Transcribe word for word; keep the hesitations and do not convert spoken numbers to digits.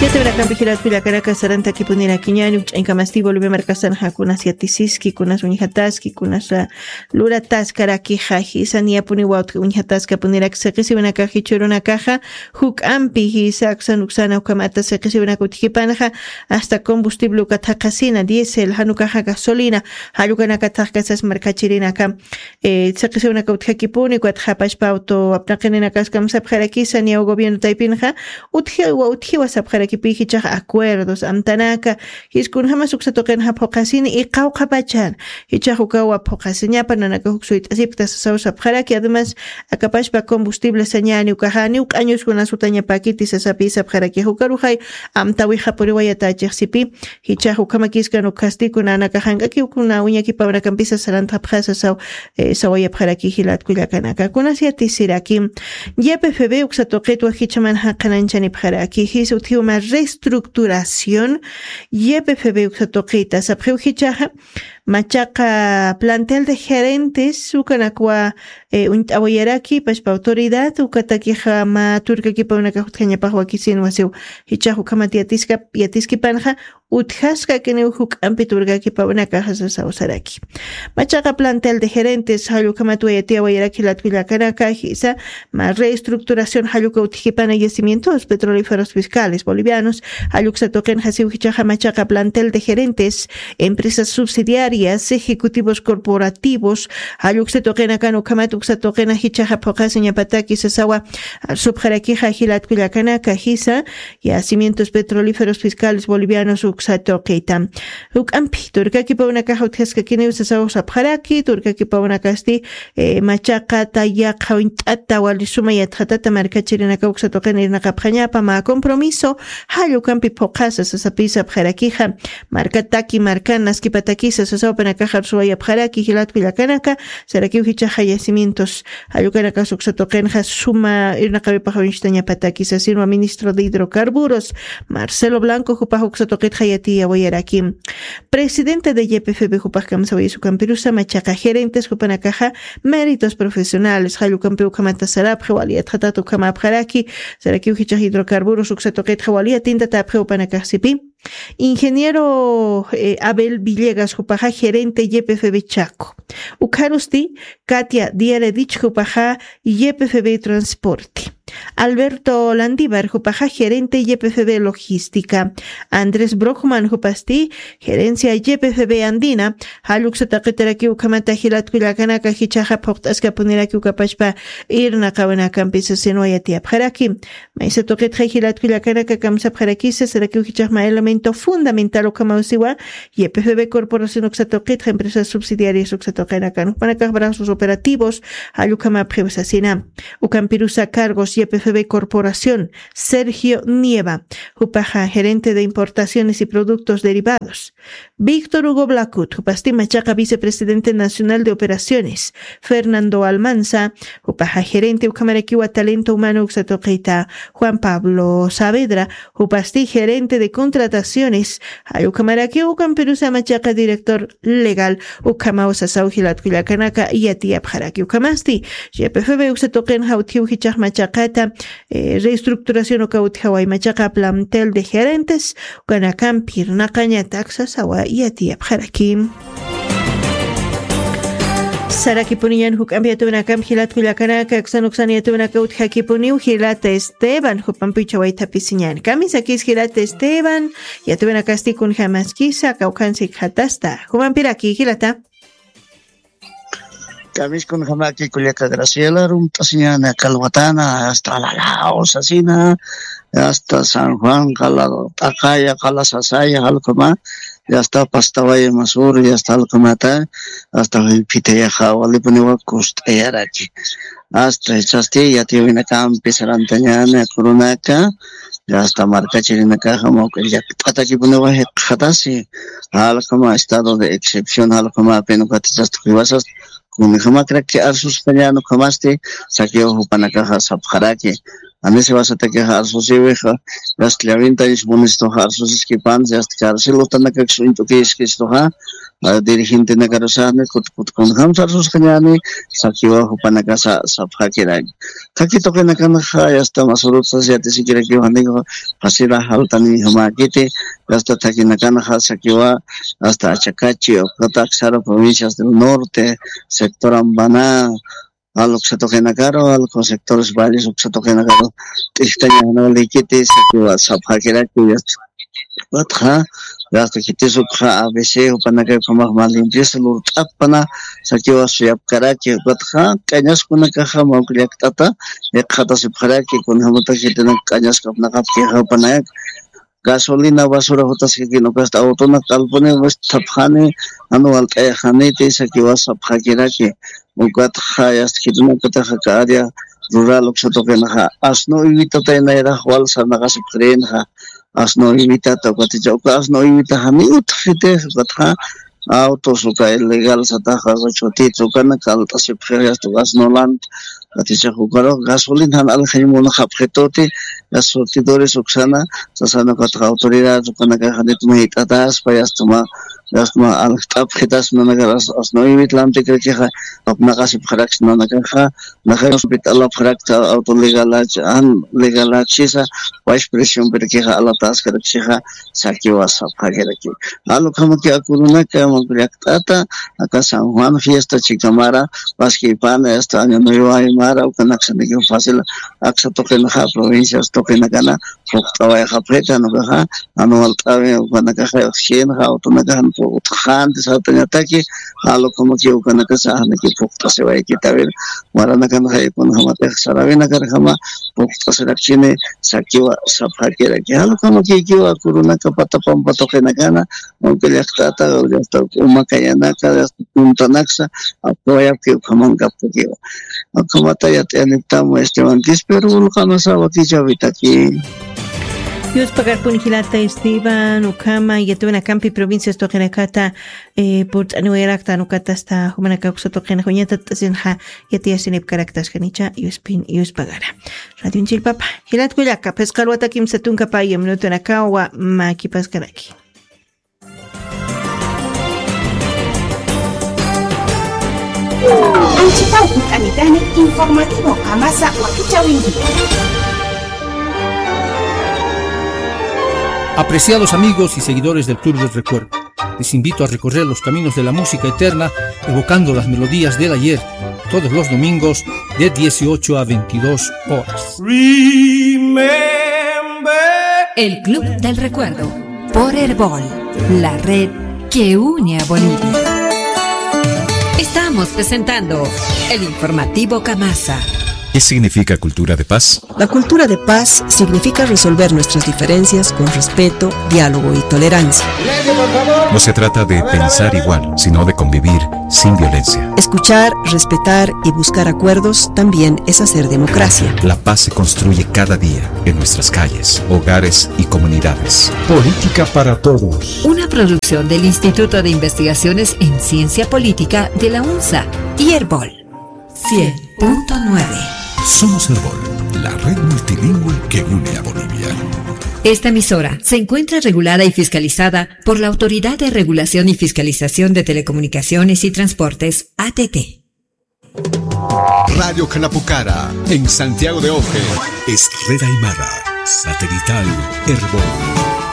Yatawirakampi jilatkullakanaka sarantakipunirakiñani ukch'añkamasti Bolivia markasanxa kunas yatisiski, kunas uñjataski, kunas lurataskarakixa, jisa niyapuniwa uñjataskapunirak siqisiwinakax jichhürunakaxa juk'ampi jisa aksan uksana ukhamata siqisiwinaka utjipanxa, hasta combustible uka thaqhasina diésel janukaxa gasolina, jallukanaka thaqkasas markachirinaka siqisiwinaka utjakipuni ukatxa pachpa auto apnaqininakaskam sapxarakisa niyaw gobierno taypinxa utjiwa utjiwa sapxarakipi jichax acuerdos amtanaka. Jiskunjamas uksa tuqinxa phuqasini iqawqapachan jichax ukawa phuqasiñapa nanaka juk suyt'asipkta sasaw sapxaraki además akapachpa combustible sañani ukaxani uk'añuskunasutañapakiti sasapi sapxaraki jukaruxay amtawixapuriwayatachixsipi. Jichax ukhamakiskan ukhasti kuna nakaxank'aki ukuna uñakipawrakampisa sarantxapxasa saw sawayapxaraki jilatkullakanaka kunas yatisiraki. Ypfb uksa tuqitwa jichhaman jaqananchani pxaraki jis utjiwma restructuración. Ypfb uksa tuqita sapxiw jichaxa machaqa plantel de gerentes ukanakwa uñt'awayaraki pachpa autoridad ukatakixa mä turkakipawnakax utjañapax wakisin wasiw jichax ukhamat yatiska yatiskipanxa utjaskakiniw juk'ampi turkakipawnakaxa sasaw saraki. Machaqa plantel de gerentes jallukhamat wayatiyawayarak jilatkullakanaka jisa mä reestructuración jalluka utjkipana yacimientos petrolíferos fiscales bolivianos jalluksa tuqinxa siw jichaxa machaqa plantel de gerentes empresas subsidiarias ejecutivos corporativos jalluksa tuqinakan ukhamat uksa tuqina jichaxa phuqasiñapataki sasawa supxarakixa jilatkullakanaka jisa yacimientos petrolíferos fiscales bolivianos uksa tuqita. Juk'ampi turkakipawnakaxa utjaskakiniw sasaw sapxaraki turkakipawnakasti machaqa tayaqha uñt'ata wali suma yatxatata markachirinaka uksa tuqina irnaqapxañapa mä compromiso jallukampi phuqasa sasapi sapxarakixa. Markataki markan naskipatakisa sasawapanakaxa arsuwayapxaraki jilatkullakanaka sarakiw jichaxa yacimientos jallukanakas uksa tuqinxa suma irnaqawipax uñstañapataki sasinwa ministro de hidrocarburos marcelo blanco jupax uksa tuqitxa yatiyawayaraki. Presidente de ypfb jupax kamsawayasukampirusa machaqa gerentes jupanakaxa méritos profesionales jallukampi ukhamata sarapxi wali yatxatat ukhamapxaraki sarakiw jichax hidrocarburos uksa tuqitxa wali yatintatapxi jupanakaxsipi. Ingeniero abel villegas jupaxa gerente ypfb chaco ukharusti katia diaredich jupaxa ypfb transporte alberto landivar jupaxa gerente ypfb logística andrés brockman jupasti gerencia ypfb andina jalluksa taqitarakiw ukhamata jilatkullakanaka jichaxa phuqt'askapunirakiw kapachpa irnaqawinakampi sasinwa yatiyapxaraki. Maysa tuqitxa jilatkullakanaka kamsapxarakisa sarakiw jichaxma elemento fundamental ukhamawsiwa ypfb corporación uksa tuqitxa empresas subsidiarias uksa tuqinakan jupanakax brazos operativos jallukhamapxiw sasina. Ukampirusa cargos ypfb corporación sergio nieva jupaxa gerente de importaciones y productos derivados víctor hugo blacut jupasti machaqa vicepresidente nacional de operaciones fernando almanza jupaxa gerente ukhamarakiwa talento humano uksa tuqita juan pablo saavedra jupasti gerente de contrataciones jallukhamarakiw ukampirusa machaqa director legal ukhamaw sasaw jilatkullakanaka yatiyapxaraki ukhamasti ypfb uksa tuqinxa utjiw jichax machaqata reestructuración uka utjaway machaqa plantel de gerentes ukanakampi irnaqañatak sasawa yatiyapxaraki. Sarakipuniñan juk'ampi yatuwinakampi jilatkullakanaka uksan uksan yatuwinaka utjakipuniw jilata esteban jupampi uchawaytapisiñan kamisakis jilata esteban yatuwinakasti kunjamaskisa kawkhansi khatasta jumampiraki jilata. Kamiskunjamaki kullaka graciela rumt'asiñana kalwatana hasta alalaw sasina hasta san juan qala t'aqaya qala sasaya jalkuma. Yasta pastawaya masur yasta jalkumata hasta juyphitayaxa walipuniwa kust'ayaraki. Hasta jichhasti yatiyawinakampi sarantañana kurunaka hasta markachirinakaxa mawk'a llakt'atakipuniwa jikxatasi jalkuma estado de excepción jalkumapin ukatachasta jiwasas kunjamakraki arsustañana ukhamasti sakiw jupanakaxa sapxaraki. Anisi wasatakixa arsusiwixa, yasta llawintañis munistuxa arsusiskipansi, yasta carcel utanakakis uñt'ukiskistuxa, dirigentenakarusaxni kut kut kunjamsa arsusxañäni, sakiwa jupanakasa sapxakiraki. Thaki tuqinakanxa yasta masurutsas yatisikirakiw janixa, fasila jaltanijamäkiti, yasta thakinakanxa sakiwa, hasta Achacachi, ukata Aksara provincias del norte, sector Ambaná, Aluksa tuqinakaru, alku sectores valles uksa tuqinakaru, t'ijtaña jana likiti, sakiwa sapxakiraki, yasta. Ukatxa, yasta khitis ukxa A B C, jupanakay ukhamax mä limpieza lurt'apana, sakiwa suyapkaraki, ukatxa, k'añaskunakaxa, mawk llakt'ata, iqxatasipxaraki, kunjamata khitinak k'añaskapnaqapkixa, jupanak, gasolina basura jutaskakin, ukasta autonak q'alpuni, wist'apxani, jan walt'ayxaniti, sakiwa sapxakiraki. Ukatxa, yasta khitinakataxa aka área rural uksa tuqinaxa, asno uywitatay nayrax wal sarnaqasipxirinxa, asno uywitata, ukaticha, uka asno uywitaxa ni utjxitix, ukatxa, autos uka ilegal sataxa, chutita, ukana kalt'asipxix, yasta uka asnolant, ukaticha, ukarux gasolina jan aljañ munxapxituti, yasta surtidores uksana, sasana ukatxa autoridad, ukanakaxa nit mayt'ataspa, yasta mä, yasta mä aljt'apxitaspa, nanakax as-, asno uywit lantikrakixa, apnaqasipxaraksna nanakaxa, naxay hospital apxarakta auto legalach, an legalachisa, wash presión pirakixa alataskaraksixa, sakiwa sapxakiraki. Alukhamaki akurunaka, mawk llakt'ata, aka San Juan fiesta chikamara, paskipana, hasta año nuevo aymara, ukanaksaniki fácil, aksa tuqinaxa, provincias tuqinakana, phuqt'awayxapxita, nukaxa, jan walt'awi, ukanakaxa, uxinxa, utunakaxa, utjxanti sartañataki, alukhamaki, ukanakasa, janiki phuqt'asiwaykitawir, waranakanxa, kunjamatix, sarawinakarjama, phuqt'asirakchini, sakiwa sapxakiraki. Jalukamakikiwa, akurunaka, pata pampa tuqinakana, mawk llakt'ata, yasta uma kayanaka, yasta puntanaksa, apkawayapki, ukhaman kaptakiwa. Ukhamata yat'ayaniptam, Esteban Quispe, Rubul Qamasa, wakichäwitaki. Yuspagarpuni jilata Esteban, ukhama, yatiyäwinakampi provincias tuqinakata, eh, purt'aniwayaraktan, ukatasta, jumanaka uksa tuqinaxa, uñatat'asinxa, yatiyasinipkaraktasjanicha, yuspin, yuspagara. Radio Chilpapa, jilat kullaka, phisqa alwata kimsa tunka paya minutunakawa, makipaskaraki. Anchitaw kut'anitani informativo Qamasa wakichäwinki. Apreciados amigos y seguidores del Club del Recuerdo, les invito a recorrer los caminos de la música eterna, evocando las melodías del ayer, todos los domingos de dieciocho a veintidós horas. Remember. El Club del Recuerdo, por Erbol, la red que une a Bolivia. Estamos presentando el informativo Qamasa. ¿Qué significa cultura de paz? La cultura de paz significa resolver nuestras diferencias con respeto, diálogo y tolerancia. No se trata de pensar igual, sino de convivir sin violencia. Escuchar, respetar y buscar acuerdos también es hacer democracia. La paz se construye cada día en nuestras calles, hogares y comunidades. Política para todos. Una producción del Instituto de Investigaciones en Ciencia Política de la UNSA y Erbol. Cien punto nueve. Somos Erbol, la red multilingüe que une a Bolivia. Esta emisora se encuentra regulada y fiscalizada por la Autoridad de Regulación y Fiscalización de Telecomunicaciones y Transportes, A T T. Radio Khanapukhara, en Santiago de Oje, es red aymara, satelital Erbol.